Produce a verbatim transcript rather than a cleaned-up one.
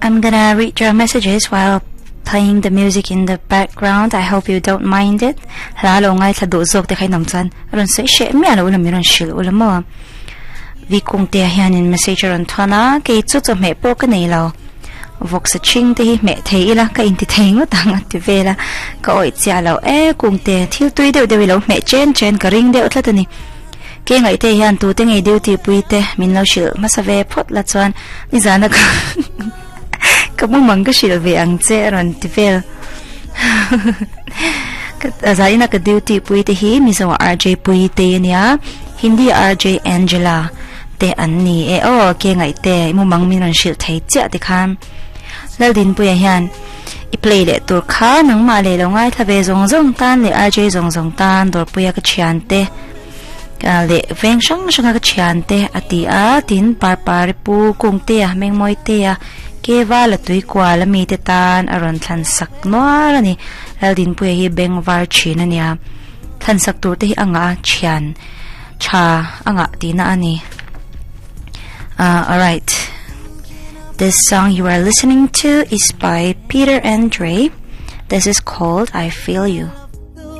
I'm gonna read your messages while playing the music in the background. I hope you don't mind it. Hla lo ngai thla duh zawk te kha in awm chuan a rawn sawi hreh miah lo ula min rawn hrilh ula maw. Vi kung te ah hianin message a rawn thawn a, kei chu chawhmeh pawh ka nei lo. Vawksa chhing te hi hmeh thei ila ka inti thei ngawt ang a ti vel a, ka awih chiah lo e kung te thil tui deuh deuh i lo hmeh chen chen ka ring deuh tlat a ni. Ke ngaih te hian tute ngei duty pui te min lo hrilh hmasa ve phawt la chuan nizana ka ka mumang ka hrilh ve ang che a rawn ti vel. Ka zaina ka duty pui te hi Mizo R J pui te ania Hindi R J Angela te an ni e aw ke ngaih te mumang min rawn hrilh thei chiah ti khan Laldinpuia hian i play leh tur kha nangmah leh lo ngaithla ve zawng zawng tan leh R J zawng zawng tan dawrpuia ka thian te leh veng hrang hranga ka thian te a ti a tin Parpari pu Kungtea Mengmawitea Keva la tui kual ami te tan a rawn thlan sak nual a ni Laldinpuia hi beng var thin a nia thlan sak tur te hi a ngah a thian tha a ngah tihna a ni ah alright this song you are listening to is by Peter Andre this is called I Feel You.